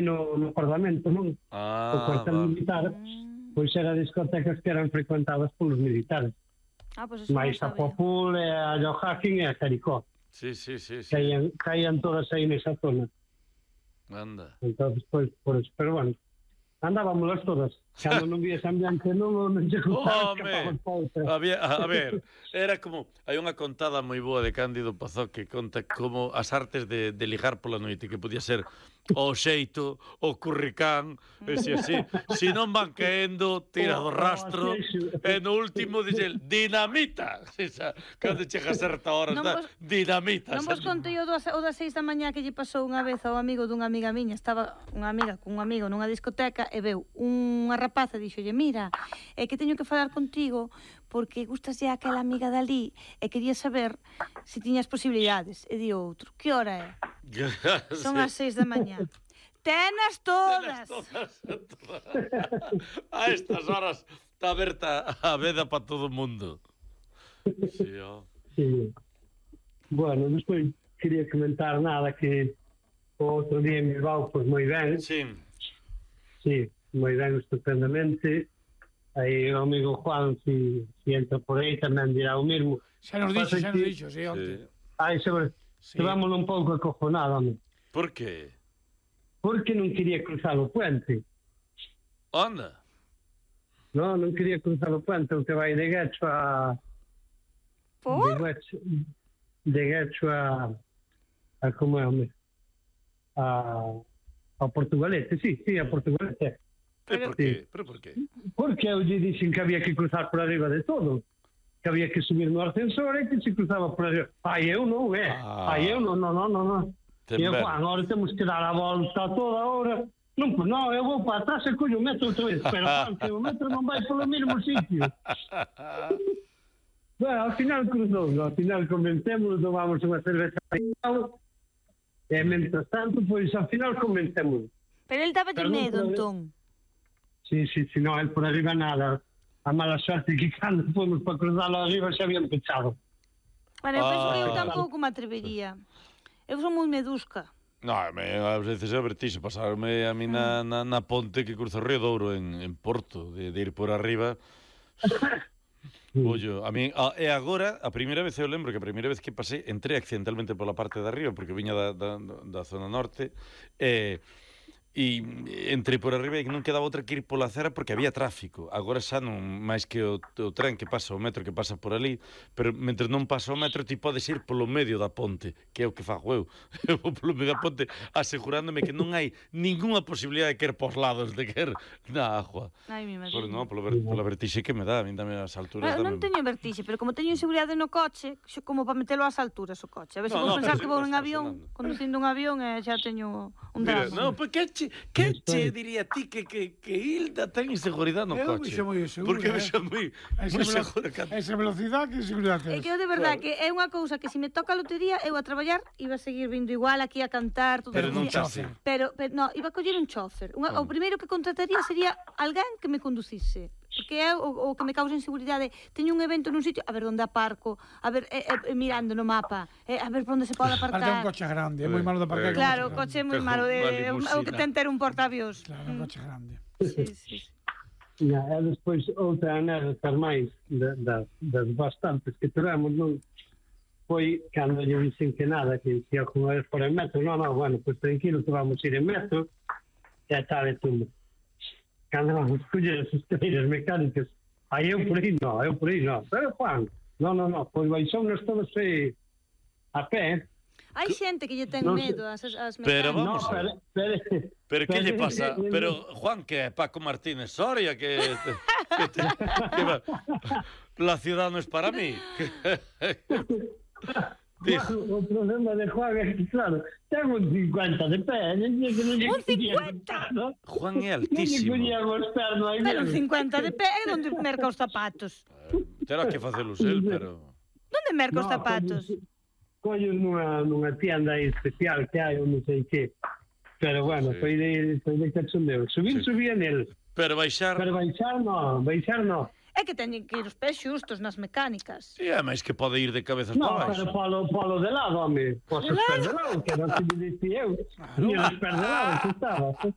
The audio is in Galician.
no Parlamento, non? O cuartel militar, pois era discotecas que eran frecuentadas polos militares. Pois eso Mais non a sabía. Popul, a Joaquín e a Caricó. Sí. Caían todas aí nesa zona. Anda. Entonces, pois, por eso. Pero bueno, andábamos todas. Cando non vi ese ambiente, non se gustaba, escapamos para outra. A ver, era como... Hai unha contada moi boa de Cándido Pazó que conta como as artes de ligar pola noite, que podía ser o xeito, o curricán, e si non van caendo, tira do rastro, e no último dixe, dinamita! Cando chega a certa hora, dinamita! Non vos contei o das 6 da mañá que lle pasou unha vez ao amigo dunha amiga miña. Estaba unha amiga con un amigo nunha discoteca e veu unha rapaza e dixolle, mira, é que teño que falar contigo porque gustas ya aquela amiga dali e quería saber se tiñas posibilidades. E di outro, que hora é? Son as 6 da mañá. Tenas todas. A estas horas está aberta a veda para todo o mundo. Sí. Bueno, despois quería comentar nada que o outro día en Bilbao, pois moi ben. Sí, moi ben, estupendamente. Aí o amigo Juan, si entra por aí, tamén dirá o mesmo. Xa nos dixo, sí, onte. Estábamos un pouco acojonados, home. Por que? Porque non quería cruzar o puente. Anda. Non quería cruzar o puente, o que vai de Guecho a... Por? De Guecho a como é, home? A Portugalete, sí, a Portugalete. Pero por qué? Porque eu lle dixen que había que cruzar por arriba de todo. Que había que subir no ascensor e que se cruzaba por arriba. Eu non. E eu, Juan, agora temos que dar a volta toda a hora. Non, eu vou para atrás e collo o metro outra vez. Pero, Juan, que o metro non vai polo mesmo sitio. Bueno, ao final cruzou, ao final convencémonos, tomamos unha cerveza e, mentras tanto, pois, ao final convencémonos. Pero ele daba de medo, entón. Sí, non, el por arriba nada. A mala sorte que cando fomos para cruzarlo arriba xa habían pechado. Bueno, eu penso que eu tampouco me atrevería. Eu son moi medusca. A veces é vertixe pasarme a mí na ponte que cruza o Río Douro en Porto, de ir por arriba. Ollo, a mí, e agora, a primeira vez, eu lembro que a primeira vez que pasei, entré accidentalmente pola parte de arriba, porque viña da zona norte, e entrei por arriba e non quedaba outra que ir pola acera porque había tráfico. Agora xa non, máis que o tren que pasa, o metro que pasa por ali, pero mentre non pasa o metro ti podes ir polo medio da ponte, que é o que fago eu. Eu vou polo medio da ponte asegurándome que non hai ninguna posibilidade de que ir pos lados, de que ir na agua. Ai, mi madre. Non, pola vertixe que me dá, a mí tamén as alturas. Non teño vertixe, pero como teño inseguridade no coche, como para metelo ás alturas o coche. A ver se vou pensar que vou en avión, conducindo un avión e xa teño un drama. Non, pois que che diría ti que Hilda ten inseguridade no coche? Eu moi seguro. Porque me xa moi segura. Esa velocidade que seguridade É tes. que eu de verdade que é unha cousa que se me toca a lotería eu a traballar iba a seguir vindo igual aquí a cantar todo Pero o non día. chase. Pero no, iba a coller un chofer. O primeiro que contrataría sería alguén que me conducise. Porque é o que me causa inseguridade. Teño un evento nun sitio, a ver onde aparco, a ver, mirando no mapa, a ver por onde se pode aparcar. Parte un coche grande, é moi malo de aparcar. Claro, o coche é moi malo, é o que ten ter un portaavións. Claro, un coche grande. Sí. E despois outra anécdota máis das bastantes que tivemos, non? Foi cando lle dixen que nada, que ia con eles por el metro, bueno, pois tranquilo que vamos ir en metro, e a tarde tudo. Cando vamos coller as escaleiras mecánicas, eu por aí non. Pero Juan, non, pois baixounos todos a pé. Hai xente que lle ten medo ás mecánicas. Pero vamos pero que lle pasa? Pero Juan, que é Paco Martínez Soria, que la ciudad no es para mí. O problema de Juan é que, claro, ten un 50 de pé. Un 50? Juan é altísimo. Pero un 50 de pé é onde merca os zapatos. Terá que facelos el, pero... Onde merca os zapatos? Collos nunha tienda especial que hai, ou non sei que. Pero bueno, foi de cachondeo. Subía nel. Pero baixar non. É que teñen que ir os pés xustos nas mecánicas. E é máis que pode ir de cabezas No, para pero baixo. polo de lado, home. Pois os pés de lado, que era o que me dicía eu. E os pés de lado, que estaba.